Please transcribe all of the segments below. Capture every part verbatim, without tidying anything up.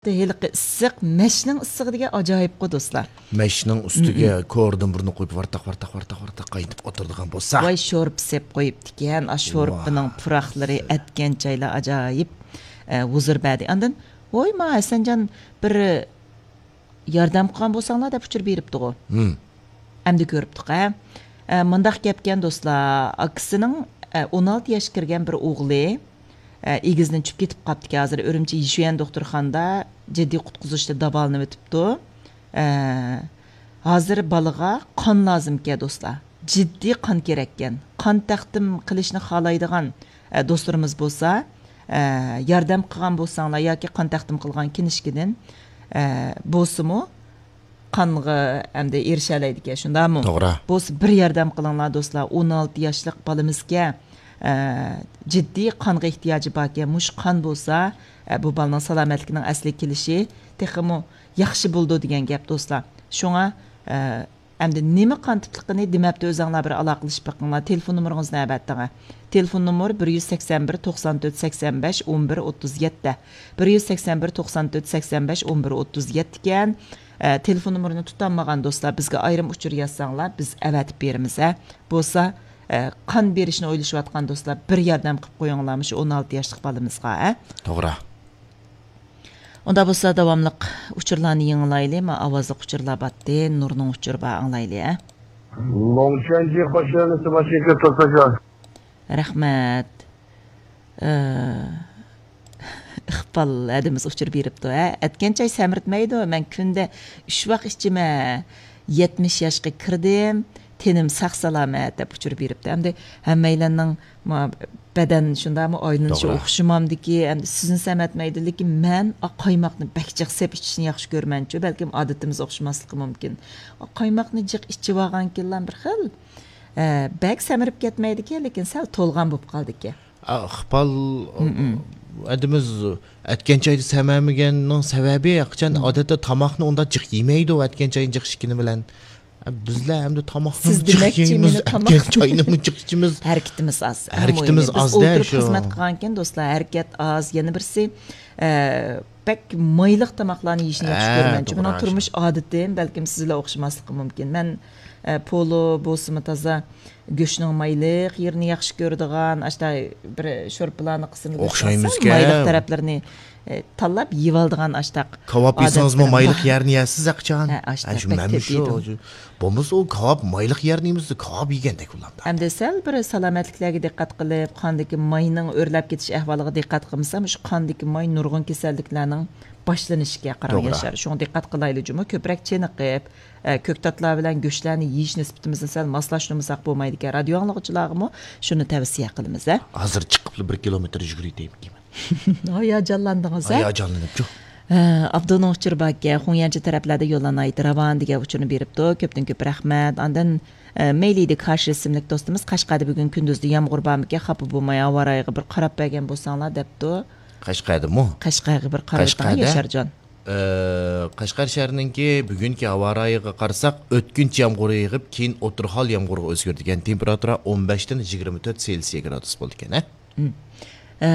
ھېلىقى ئىسسىق، مەشنىڭ ئىسسىقى دېگەن ئاجايىپقۇ، دوستلار. مەشنىڭ ئۈستىگە كورىدىن بۇرنى قويۇپ، ۋارتاق، ۋارتاق، ۋارتاق، ۋارتاق قاينىتىپ ئولتۇرىدىغان بولسا. ۋاي، شورپا سېپ قويۇپتىكەن. ئا، شورپىنىڭ پۇراقلىرى، ئەتكەن چايلار ئاجايىپ، ئە، ھۇزۇر بەردى. ئاندىن، ۋوي، ما، ھەسەنجان، بىر ياردەم قىلغان بولساڭلار دەپ ئۇچۇر بېرىپتىغۇ. ھىم. ئەمدى كۆرۈپتۇق، ھە. ئە، مۇنداق گەپكەن، دوستلار. ئاكىسىنىڭ، ئە، ئون ئالتە ياشقا كىرگەن بىر ئوغلى، ئە، ئېگىزدىن چۈشۈپ كېتىپ قاپتىكەن. ھازىر ئۈرۈمچى يىشۈەن دوختۇرخانىدا جىددىي قۇتقۇزۇشتا داۋالىنىۋېتىپتۇ. ئە، ھازىر بالىغا قان لازىمكەن، دوستلار. جىددىي قان كېرەككەن. قان تەقدىم قىلىشنى خالايدىغان، ئە، دوستلىرىمىز بولسا، ئە، ياردەم قىلغان بولساڭلار ياكى قان تەقدىم قىلغان كىنىشكىدىن، ئە، بولسىمۇ، قانغا ئەمدى ئېرىشەلەيدىكەن، شۇنداقمۇ؟ توغرا. بولسا بىر ياردەم قىلىڭلار، دوستلار. ئون ئالتە ياشلىق بالىمىزكەن، ئە، جىددىي قانغا ئېھتىياجى باركەن. مۇشۇ قان بولسا، ئە، بۇ بالىنىڭ سالامەتلىكىنىڭ ئەسلىگە كېلىشى تېخىمۇ ياخشى بولىدۇ دېگەن گەپ، دوستلار. شۇڭا، ئە، ئەمدى نېمە قان تىپلىقىنى دېمەپتۇ، ئۆزەڭلار بىر ئالاقىلىشىپ بېقىڭلار. تېلېفون نومۇرىڭىزنى ئەۋەتتىڭە. تېلېفون نومۇر بىر يۈز سەكسەن بىر، توقسان تۆت، سەكسەن بەش، ئون بىر، ئوتتۇز يەتتە. بىر يۈز سەكسەن بىر، توقسان تۆت، سەكسەن بەش، ئون بىر، ئوتتۇز يەتتە ئىكەن. ئە، تېلېفون نومۇرىنى تۇتالمىغان دوستلار بىزگە ئايرىم ئۇچۇر يازساڭلار، بىز ئەۋەتىپ بېرىمىز، ھە. بولسا، ئە، قان بېرىشنى ئويلىشىۋاتقان دوستلار، بىر ياردەم قىلىپ قويۇڭلار مۇشۇ ئون ئالتە ياشلىق بالىمىزغا، ھە. توغرا. ئۇنداق بولسا داۋاملىق ئۇچۇرلارنى يېڭىلايلى. ما ئاۋازلىق ئۇچۇرلار باتتى. نۇرنىڭ ئۇچۇرى بار، ئاڭلايلى، ھە. 龙泉街 خوش گەلمىسى باشقا توساجان. رەھمەت. ئىقبال ھەدىمىز ئۇچۇر بېرىپتۇ، ھە. ئەتكەن چاي سەمرىتمەيدۇ، مەن كۈندە ئۈچ ۋاق ئىچىمەن. يەتمىش ياشقا كىردىم، تېنىم ساق سالامەت، دەپ ئۇچۇر بېرىپتۇ. ئەمدى ھەممەيلەننىڭ ما بەدەن شۇنداقمۇ ئايلىنىشى توغرا. ئوخشىمامدىكى، ئەمدى سىزنى سەمرەتمەيدۇ، لېكىن مەن ئا قايماقنى بەك جىق سېپ ئىچىشنى ياخشى كۆرىمەنچۇ، بەلكىم ئادىتىمىز ئوخشىماسلىقى مۇمكىن. ئا قايماقنى جىق ئىچىۋالغانكىنلا بىر خىل، ئە، بەك سەمرىپ كەتمەيدىكەن، لېكىن سەل تولغان بولۇپ قالىدىكەن. ئىقبال ھەدىمىز ئەتكەن چاينى سەمەمىگەننىڭ سەۋەبى، قاچان ئادەتتە تاماقنى ئۇنداق جىق يېمەيدۇ، ئەتكەن چاينى جىق ئىچكىنى بىلەن. بىزلەر ئەمدى تاماقنى سىز جىق دېمەكچى، يەيمىز، مېنى تاماق ئەتكەن چاينىمۇ جىق ئىچىمىز. ھەرىكىتىمىز ئاز. ھەرىكىتىمىز ئەڭ مۇھىمى. بىز ئاز-دە، ئولتۇرۇپ شۇ. خىزمەت قىلغانكەن، دوستلار، ھەرىكەت ئاز. يەنە بىرسى، ئە، بەك مايلىق تاماقلارنى يېيىشنى ياخشى ھە، كۆرىمەن. توغرا، مېنىڭ تۇرمۇش ئادىتىم، بەلكىم سىزلەر ئوخشىماسلىقى مۇمكىن. مەن، ئە، پولۇ بولسىمۇ تازا گۆشنىڭ مايلىق يېرىنى ياخشى كۆرىدىغان، ئاشتا بىر شورپىلارنى قىسمىدا ئوخشايمىزكەن. مايلىق تەرەپلىرىنى، ئە، تاللاپ يېۋالىدىغان ئاشتاق كاۋاپ يېسىڭىزمۇ ئادەتلىرىم مايلىق بار. يەرنى يەسىز ئەقىچان. ھە، ئاشتاق شۇ بەك مەنمۇ كۆپ شۇ، يېدىم. شۇ. بولمىسا ئۇ كاۋاپ مايلىق يەرنى يېمىسا كاۋاپ يېگەندەك بولامدا. ئەمدى سەل بىر سالامەتلىكلەرگە دىققەت قىلىپ، قاندىكى ماينىڭ ئۆرلەپ كېتىش ئەھۋالىغا دىققەت قىلمىسام، شۇ قاندىكى ماي نۇرغۇن كېسەللىكلەرنىڭ باشلىنىشىگە قاراڭ، توغرا. ياشار. شۇڭا دىققەت قىلايلى جۇمۇ، كۆپرەك چېنىقىپ، ئە، كۆكتاتلار بىلەن گۆشلەرنى يېيىش نىسبىتىمىزنى سەل ماسلاشتۇرمىساق بولمايدىكەن. رادىيو ئاڭلىغۇچىلارغىمۇ شۇنى تەۋسىيە قىلىمىز، ھە. ھازىر چىقىپلا بىر كىلومېتىر يۈگۈرۈۋېتەيمىكىن. ھاياجانلاندىڭىز، ھە؟ ھاياجانلىنىپچۇ. ھە، ئابدۇنىڭ ئۇچۇرى باركەن، خۇڭيەنچە تەرەپلەردە يوللار ناھايىتى راۋان دېگەن ئۇچۇرنى بېرىپتۇ. كۆپتىن كۆپ رەھمەت. ئاندىن، ئە، مەيلىدە كاش ئىسىملىك دوستىمىز، قەشقەردە بۈگۈن كۈندۈزدە يامغۇر بارمىكەن، خاپا بولماي ھاۋا رايىغا بىر قاراپ بەرگەن بولساڭلار، دەپتۇ. قەشقەردىمۇ؟ قەشقەرگە بىر قاراپ ئۆتۈڭ، قەشقەردە؟ ياشارجان. ئە، قەشقەر شەھىرىنىڭكى بۈگۈنكى ھاۋا رايىغا قارىساق، ئۆتكۈنچى يامغۇر يېغىپ، كېيىن ئوتتۇرا ھال يامغۇرغا ئۆزگىرىدىكەن. تېمپېراتۇرا ئون بەشتىن يىگىرمە تۆت سېلسىيە گرادۇس بولىدىكەن، ھە؟ مم. ئە،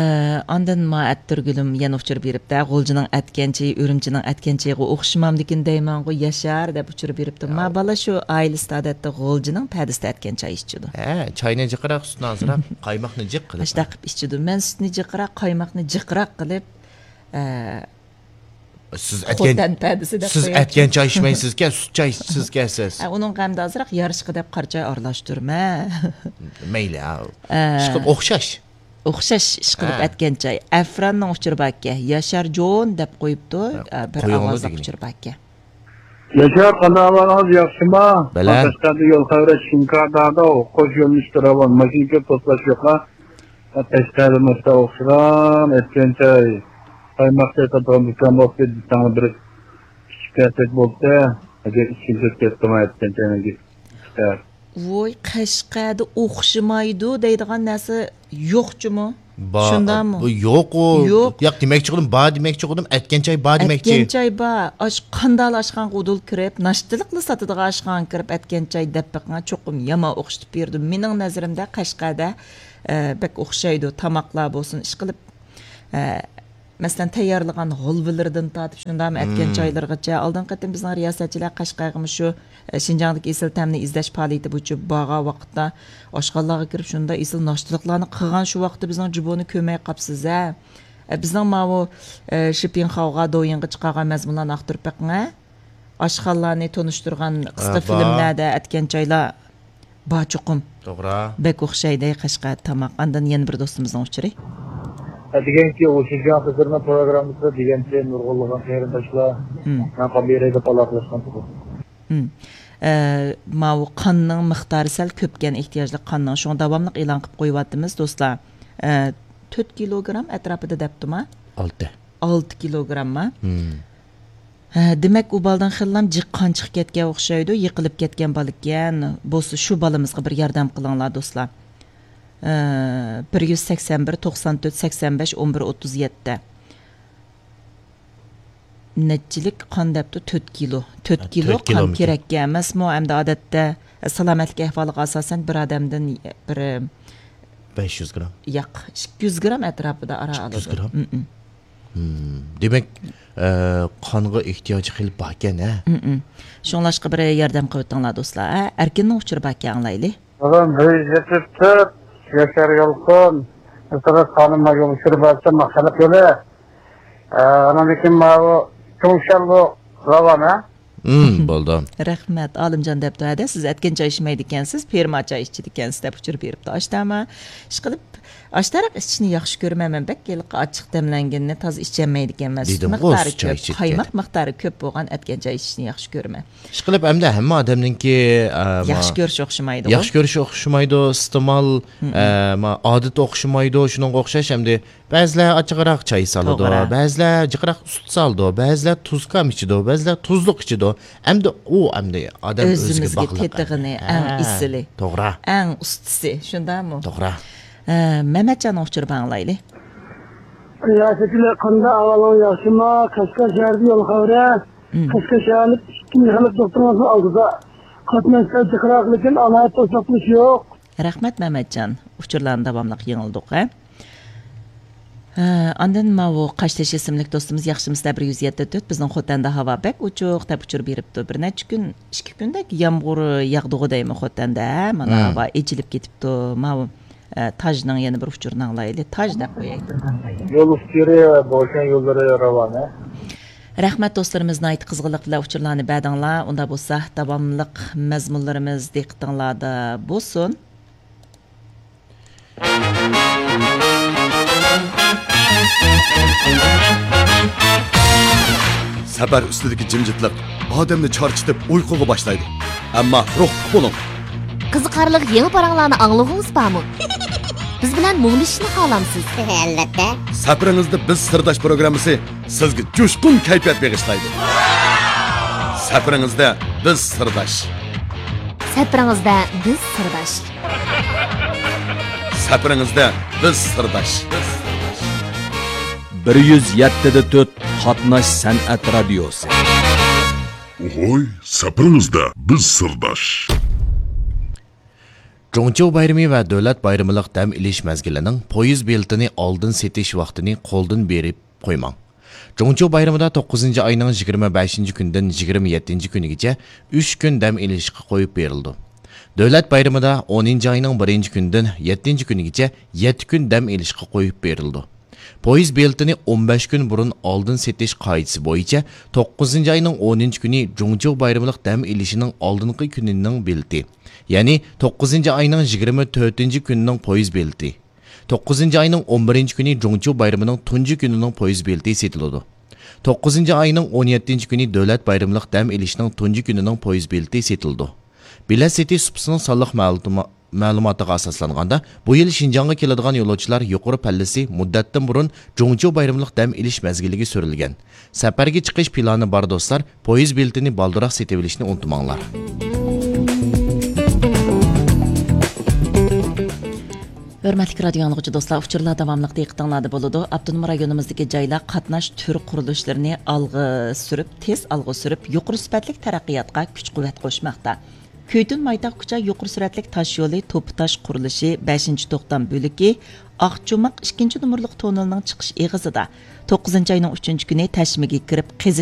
ئاندىن ما ئەتتۈرگۈلۈم يەنە ئۇچۇر بېرىپتە، غۇلجىنىڭ ئەتكەن چېيى ئۈرۈمچىنىڭ ئەتكەن چېيىغا ئوخشىمامدىكىن دەيمەنغۇ ياشار، دەپ ئۇچۇر بېرىپتۇ. ما بالا شۇ ئائىلىسىدە ئادەتتە غۇلجىنىڭ پەدىسىدە ئەتكەن چاي ئىچىدۇ. ھە، چاينى جىقراق، سۈتنى ئازراق، قايماقنى جىق قىلىپ. ئاشۇنداق قىلىپ ئىچىدۇ. مەن سۈتنى جىقراق، قايماقنى جىقراق قىلىپ، ئە، سىز ئەتكەن، خوتەن پەدىسى دەپ سىز قويايچۇ. ئەتكەن چاي ئىچمەيسىزكەن، سۈت چاي ئىچىسىزكەن سىز. ئە، ئۇنىڭغا ئەمدى ئازراق يارىشقا دەپ قارا چاي ئارىلاشتۇرىمەن. مەيلى، ھە. ئە. ئىشقىلىپ ئوخشاش. ئوخشاش ئىشقىلىپ ھە. ئەتكەن چاي. ئەفراننىڭ ئۇچۇرى باركەن. ياشار جون دەپ قويۇپتۇ. ھە، ئە، بىر قويۇڭلار ئاۋازلىق دېگىنى. ئۇچۇر باركەن. ياشار، قانداق ئەھۋالىڭىز، ياخشىما؟ بەلە. قەشقەردە يول خەۋىرى شىنكاردادا، خوش يۆنىلىشتە راۋان، ماشىنا كۆپ، توسۇلۇش يوقلا. قەشقەردە مۇشتا ئوخشىغان ئەتكەن چاي، قايماق چاي ساتىدىغان دۇكان بولسا دېسەڭلار، بىر ئىچىپ كەتسەك بولسا، ئەگەر ئىچىم كۆپ كەتتىما ئەتكەن چاينىڭ گېپى. ۋوي، قەشقەردە ئوخشىمايدۇ دەيدىغان نەرسە يوق جۇمۇ. با-، شۇنداقمۇ؟ بۇ يوق ئۇ. يوق. ياق، دېمەكچى قىلدىم، بار دېمەكچى قىلدىم، ئەتكەن چاي بار دېمەكچى. ئەتكەن چاي بار. ئاش-، قانداقلا ئاشخانىغا ئۇدۇل كىرىپ، ناشتىلىقلا ساتىدىغان ئاشخانىغا كىرىپ ئەتكەن چاي دەپ بېقىڭا، چوقۇم يامان ئوخشىتىپ بېرىدۇ. مېنىڭ نەزىرىمدە قەشقەردە، ئە، بەك ئوخشايدۇ. تاماقلار بولسۇن، ئىشقىلىپ، ئە، مەسىلەن، تەييارلىغان ھالۋىلىرىدىن تارتىپ شۇنداقمۇ ئەتكەن چايلىرىغىچە. ئالدىنقى قېتىم بىزنىڭ رىياسەتچىلەر قەشقەرگىمۇ شۇ، ئە، شىنجاڭدىكى ئېسىل تەمنى ئىزدەش پائالىيىتى بويىچە بارغان ۋاقىتتا ئاشخانىلارغا كىرىپ شۇنداق ئېسىل ناشتىلىقلارنى قىلغان، شۇ ۋاقىتتا بىزنىڭ جۇبونى كۆرمەي قاپسىز ھە. ئە، بىزنىڭ ماۋۇ، ئە، شىپىنخاۋغا، دويىنغا چىقارغان مەزمۇنلارنى ئاختۇرۇپ بېقىڭ ھە. ئاشخانىلارنى تونۇشتۇرغان قىسقا ھە، بار. فىلىملەردە ئەتكەن چايلار بار چوقۇم. توغرا. بەك ئوخشايدۇ قەشقەر تاماق. ئاندىن يەنە بىر دوستىمىزنىڭ ئۇچۇرى. دېگەنكى، ئۇ شىنجاڭ سەپىرىنىڭ پروگراممىسىدا دېگەنچە نۇرغۇنلىغان قېرىنداشلار مم. مەن قابىلەيدە پالاقلاشقان تۇغۇ. مم. ئە، ماۋۇ قاننىڭ مىقدارى سەل كۆپكەن، ئېھتىياجلىق قاننىڭ. شۇڭا داۋاملىق ئېلان قىلىپ قويۇۋاتىمىز، دوستلار. ئە، تۆت كىلوگرام ئەتراپىدا دەپتۇما؟ ئالتە. ئالتە كىلوگرامما؟ مم. ھە، دېمەك، ئۇ بالىدىن خېلىلا جىق قان چىقىپ كەتكەن ئوخشايدۇ، يىقىلىپ كەتكەن بالىكەن. بولسا شۇ بالىمىزغا بىر ياردەم قىلىڭلار، دوستلار. ھە، بىر يۈز سەكسەن بىر، توقسان تۆت، سەكسەن بەش، ئون بىر، ئوتتۇز يەتتە. نەچچىلىك قان دەپتۇ؟ تۆت كىلو. تۆت ھە، كىلو تۆت قان كىلومېتىر. كېرەككەن ئەمەسمۇ؟ ئەمدى ئادەتتە سالامەتلىك ئەھۋالىغا ئاساسەن بىر ئادەمدىن بىر بەش يۈز گرام. ياق، ئىككى يۈز گرام ئەتراپىدا ئارا ئىككى يۈز ئالىدۇ. گرام؟ مم. مم. دېمەك، ئە، قانغا ئېھتىياجى خېلى باركەن ھە؟ مم. شۇڭلاشقا بىر ياردەم قىلىۋېتىڭلار، دوستلار. ھە، ئەركىننىڭ ئۇچۇرى باركەن، ئاڭلايلى. دادام، بىر يۈز يەتمىش تۆت، ياشار يالقۇن، ئىسرات خانىم ماگىم ئۇچۇر بەرسە ماقالە قىلى. ئاناندىن كېيىن ماۋۇ چوڭشاللۇ راۋان ھە؟ مم، بولدى. رەھمەت، ئالىمجان دەپتۇ، ھەدە، سىز ئەتكەن چاي ئىچمەيدىكەنسىز، پىرما چاي ئىچىدىكەنسىز دەپ ئۇچۇر بېرىپتۇ. ئاشتەما، ئىشقىلىپ، ئاشتەرەق ئىچىشنى ياخشى كۆرىمەن مەن، بەك ھېلىقى ئاچچىق دەملەنگىنىنى تازا ئىچەلمەيدىكەنمەن. سۈت دېدىمغۇ، مىقدارى سۈت چاي كۆپ، ئىچىدىكەن. قايماق مىقدارى كۆپ بولغان ئەتكەن چاي ئىچىشنى ياخشى كۆرىمەن. ئىشقىلىپ، ئەمدى ھەممە ئادەمنىڭكى، ئە، ما-، ياخشى كۆرۈشى ئوخشىمايدۇ. ياخشى كۆرۈشى ئوخشىمايدۇ، ئىستېمال، مم. ئە، ما-، ئادىتى ئوخشىمايدۇ، شۇنىڭغا ئوخشاش ئەمدى بەزىلەر ئاچچىقراق چاي سالىدۇ، توغرا. بەزىلەر جىقراق سۈت سالىدۇ، بەزىلەر تۇزكام ئىچىدۇ، بەزىلەر تۇزلۇق ئىچىدۇ. ئەمدى ئۇ ئەمدى ئادەم ئۆزىگە ئۆزىمىزگە باغلىق تېتىغىنى ئەمدى. ئەڭ ھە، ئېسىلى. توغرا. ئەڭ ئۇستىسى، شۇنداقمۇ؟ توغرا. ھە، مەمەتجاننىڭ ئۇچۇرىنى ئاڭلايلى. يا سېپىلى، قانداق ئەھۋالىڭ، ياخشىمۇ؟ قەشقەر شەھىرىدە يول خەۋىرى. مم. قەشقەر شەھەرلىك ئىككىنچى خەلق دوختۇرىمىزنىڭ ئالدىدا. قاتناش سەل جىقراق، لېكىن ئالاھىدە توسۇقلىنىش يوق. رەھمەت، مەمەتجان. ئۇچۇرلارنى داۋاملىق يېڭىلدۇق، ھە؟ ھە، ئاندىن ماۋۇ قاشتېشى ئىسىملىك دوستىمىز، ياخشىمۇسىلەر بىر يۈز يەتتە تۆت، بىزنىڭ خوتەندە ھاۋا بەك ئوچۇق دەپ ئۇچۇر بېرىپتۇ. بىر نەچچە كۈن، ئىككى كۈندەك يامغۇر ياغدىغۇ دەيمەن خوتەندە، ھە؟ مانا ھە. ھاۋا ئېچىلىپ كېتىپتۇ. ماۋۇ، ئە، تاجنىڭ يەنە بىر ئۇچۇرىنى ئاڭلايلى. تاج دەپ قوياي. يول ئۈستىلىرى، بوشاڭ يوللىرى راۋان، ھە؟ رەھمەت دوستلىرىمىز، ناھايىتى قىزغىنلىق بىلەن ئۇچۇرلارنى بەردىڭلار. ئۇنداق بولسا داۋاملىق مەزمۇنلىرىمىز دىققىتىڭلاردا بولسۇن. سەپەر ئۈستىدىكى جىمجىتلىق ئادەمنى چارچىتىپ ئۇيقۇغا باشلايدۇ. ئەمما روھلۇق بولۇڭ. قىزىقارلىق يېڭى پاراڭلارنى ئاڭلىغۇڭىز بارمۇ؟ بىز بىلەن مۇڭدىشىشنى خالامسىز؟ ئەلۋەتتە. سەپىرىڭىزدە بىز سىرداش پروگراممىسى سىزگە جۇشقۇن كەيپىيات بېغىشلايدۇ. سەپىرىڭىزدە بىز سىرداش. سەپىرىڭىزدە بىز سىرداش. سەپىرىڭىزدە بىز سىرداش. بىر يۈز يەتتە دە تۆت قاتناش سەنئەت رادىيوسى. ئوھوي، سەپىرىڭىزدە بىز سىرداش. جۇڭچيۇ بايرىمى ۋە دۆلەت بايرىمىلىق دەم ئېلىش مەزگىلىنىڭ پويىز بېلىتىنى ئالدىن سېتىش ۋاقتىنى قولدىن بېرىپ قويماڭ. جۇڭچيۇ بايرىمىدا توققۇزىنچى ئاينىڭ يىگىرمە بەشىنچى كۈنىدىن يىگىرمە يەتتىنچى كۈنىگىچە ئۈچ كۈن دەم ئېلىشقا قويۇپ بېرىلىدۇ. دۆلەت بايرىمىدا ئونىنچى ئاينىڭ بىرىنچى كۈنىدىن يەتتىنچى كۈنىگىچە يەتتە كۈن دەم ئېلىشقا قويۇپ بېرىلىدۇ. پويىز بېلىتىنى ئون بەش كۈن بۇرۇن ئالدىن سېتىش قائىدىسى بويىچە توققۇزىنچى ئاينىڭ ئونىنچى كۈنى جۇڭچيۇ بايرىملىق دەم ئېلىشىنىڭ ئالدىنقى كۈنىنىڭ بېلىتى، يەنى توققۇزىنچى ئاينىڭ يىگىرمە تۆتىنچى كۈنىنىڭ پويىز بېلىتى، توققۇزىنچى ئاينىڭ ئون بىرىنچى كۈنى جۇڭچيۇ بايرىمىنىڭ تۇنجى كۈنىنىڭ پويىز بېلىتى سېتىلىدۇ. توققۇزىنچى ئاينىڭ ئون يەتتىنچى كۈنى دۆلەت بايرىملىق دەم ئېلىشنىڭ تۇنجى كۈنىنىڭ پويىز بېلىتى سېتىلىدۇ. بېلەت سېتىش سۇپىسىنىڭ سانلىق مەلۇما-، مەلۇماتىغا ئاساسلانغاندا، بۇ يىل شىنجاڭغا كېلىدىغان يولۇچىلار يۇقىرى پەللىسى مۇددەتتىن بۇرۇن جۇڭچيۇ بايرىملىق دەم ئېلىش مەزگىلىگە سۈرۈلگەن. سەپەرگە چىقىش پىلانى بار دوستلار، پويىز بېلىتىنى بالدۇرراق سېتىۋېلىشنى ئۇنتۇماڭلار. ھۆرمەتلىك رادىيو ئاڭلىغۇچى دوستلار، ئۇچۇرلار داۋاملىق دىققىتىڭلاردا بولىدۇ. ئاپتونوم رايونىمىزدىكى جايلار قاتناش تۈر قۇرۇلۇشلىرىنى ئالغا سۈرۈپ، تېز ئالغا سۈرۈپ، يۇقىرى سۈپەتلىك تەرەققىياتقا كۈچ-قۇۋۋەت قوشماقتا. كۈيتۈن مايتاغ كۇچا يۇقىرى سۈرئەتلىك تاش يولى توپا تاش قۇرۇلۇشى بەشىنچى توختام بۆلىكى ئاقچوماق ئىككىنچى نومۇرلۇق توننىلىنىڭ چىقىش ئېغىزىدا توققۇزىنچى ئاينىڭ ئۈچىنچى كۈنى تەشمىگە كىرىپ قېزىش